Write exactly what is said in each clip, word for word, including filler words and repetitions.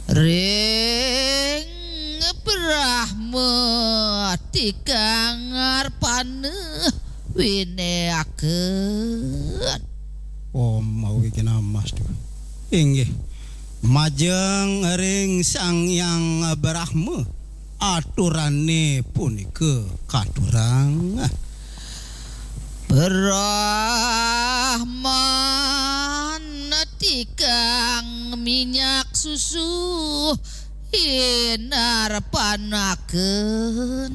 Ring Brahma tikang arpana wineaken. Om Awighnamastu. Inggih. Majeng ring Sang Hyang Brahma, aturane punika katurang. Brahman tikang minyak susu inarpanaken.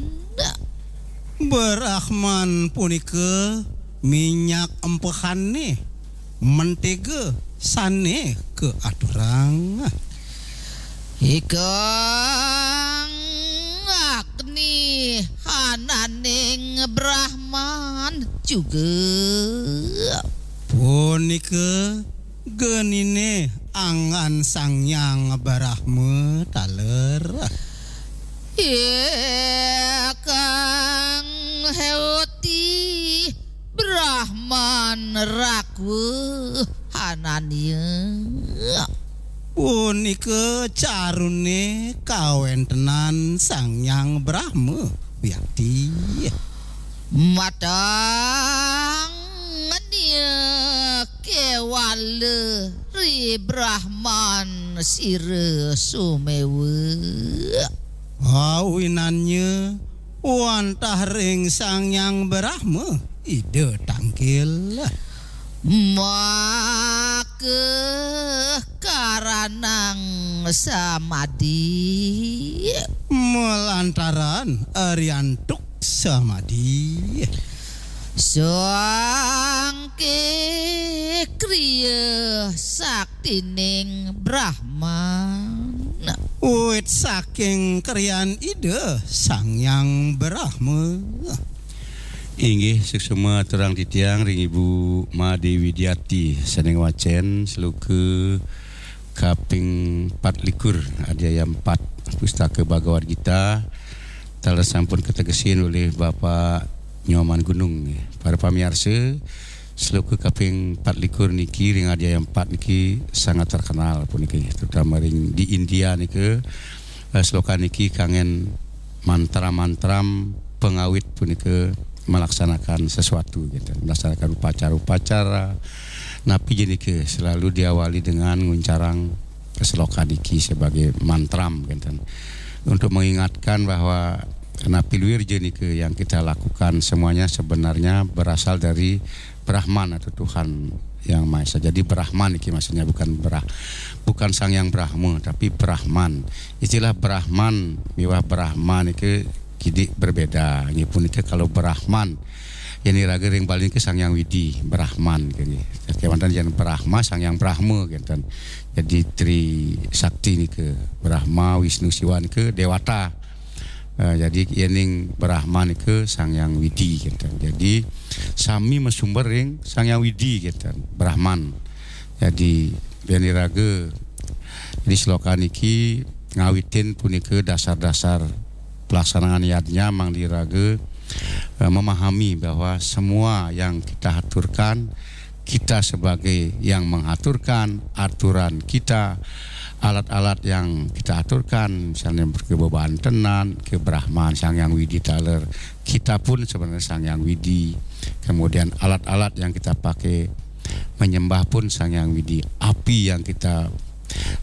Brahman punika minyak empehane, mentega sane kaaturang. Ikang Agni hananing Brahman juga. Punika genine anggan Sang Hyang Brahma taler. Ikang Hewti Brahman Rakwa hananya. Punika carune kawentenan Sang Hyang Brahma wiakti. Matang nia kewala ri Brahman sira sumewa. Awinannya wantah ring Sang Hyang Brahma Ida tangkil. Maka karanang samadi. Malantaran ariantuk samadi. Sangke kriya saktining Brahman. Wit saking kriyan Ida Sang Hyang Brahma. Inggih, suksma aturang titiang ring Ibu Made Widiati sane ngwacen sloka kaping empat likur, adhyaya empat, Pustaka Bhagavad Gita, taler sampun kategesin olih Bapak Nyoman Gunung. Para pamiarsa, sloka kaping empat likur niki ring adhyaya empat niki sangat terkenal puniki, terutama ring di India nika, eh, sloka niki kanggen mantra-mantram pengawit punika melaksanakan sesuatu gitu, melaksanakan upacara-upacara. Napi ja nika selalu diawali dengan nguncarang sloka niki sebagai mantram gitu. Untuk mengingatkan bahwa napi luir ja nika yang kita lakukan semuanya sebenarnya berasal dari Brahman atau Tuhan Yang Maha Esa. Jadi Brahman niki maksudnya bukan Brah-, bukan Sang Hyang Brahma, tapi Brahman. Istilah Brahman miwah Brahma niki kidik berbeda. Nggih punika kalau Brahman, yen iraga ring Bali niki Sang Hyang Widi, Brahman nggih. Kewanten yen Brahma, Sang Hyang Brahma kenten. Jadi Tri Sakti nika Brahma, Wisnu, Siwa nika dewata. Eh, jadi yening Brahma nika Sang Hyang Widi kenten. Jadi sami masumber ring Sang Hyang Widi kenten, Brahman. Jadi yen iraga di sloka niki ngawitin punika dasar-dasar pelaksanaan yadnya, mangda iraga, eh, memahami bahwa semua yang kita aturkan, kita sebagai yang mengaturkan, aturan kita, alat-alat yang kita aturkan, misalnya ke bebantenan, ke Brahman, Sang Hyang Widi taler, kita pun sebenarnya Sang Hyang Widi. Kemudian alat-alat yang kita pakai menyembah pun Sang Hyang Widi. Api yang kita,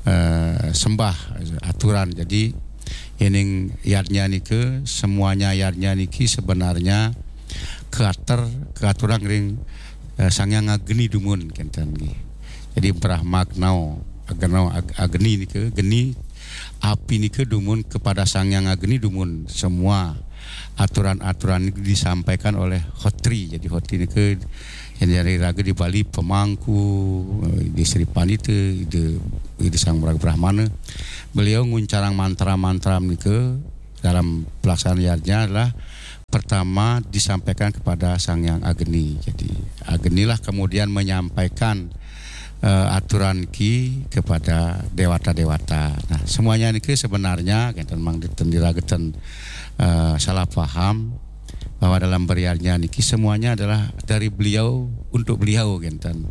eh, sembah, aturan. Jadi yening yadnya nika, semuanya yadnya niki sebenarnya keater, keaturang ring, eh, Sang Hyang Agni dumun kenten nggih. Jadi Brahma Agnau, Agnau Ag-, Agni nika, geni, api nika dumun kepada Sang Hyang Agni dumun semua aturan-aturan ini disampaikan oleh Hotri. Jadi Hotri nika yang dari raga di Bali pemangku, eh, di Sri Pandita, Ida, Ida Sang Maraga Brahmana. Beliau nguncarang mantra-mantra nika dalam pelaksanaan yadnya adalah pertama disampaikan kepada Sang Hyang Agni. Jadi Agnilah kemudian menyampaikan, eh, aturan ki kepada dewata-dewata. Nah, semuanya niki sebenarnya kenten mangda ten diraga ten, eh, salah paham bahwa dalam beriarnya niki semuanya adalah dari beliau untuk beliau kenten.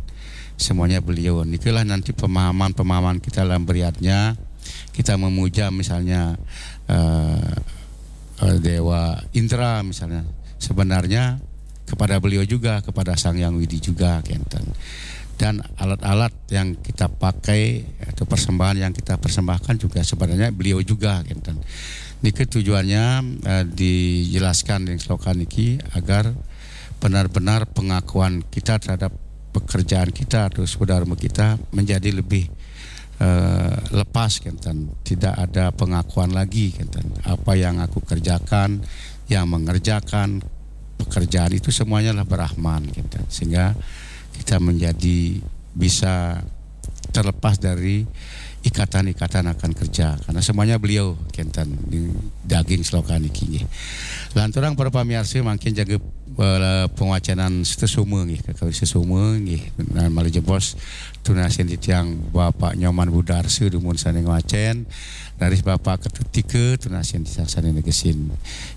Semuanya beliau. Nikilah nanti pemahaman-pemahaman kita dalam beriarnya kita memuja misalnya eh, eh, Dewa Indra misalnya, sebenarnya kepada beliau juga, kepada Sang Yang Widi juga, kenten. Dan alat-alat yang kita pakai atau persembahan yang kita persembahkan juga sebenarnya beliau juga, kenten. Niki tujuannya eh, dijelaskan di sloka niki agar benar-benar pengakuan kita terhadap pekerjaan kita atau swadaharma kita menjadi lebih eh, lepas, kenten. Tidak ada pengakuan lagi, kenten. Apa yang aku kerjakan, yang mengerjakan pekerjaan itu semuanya lah Brahman, kenten. Sehingga kita menjadi bisa terlepas dari ikatan-ikatan akan kerja karena semuanya beliau, kenten, di daging sloka niki nggih. Lanturang para pamiarsa mangkin jaga eh, pengawacanan sesama nggih, kakawin sesama nggih. Nah, malih jebos tunasin titiang Bapak Nyoman Budarsa dumun sané ngwacén, raris Bapak Ketut Tika tunasin titiang sané negesin.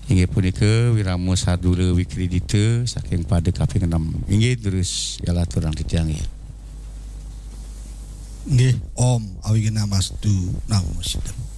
Inggih punika wirama sadula wikridita saking pada kaping enam. Inggih terus yalaturang titiang nggih. Nggih, Om Awighnamastu Namo Siddham.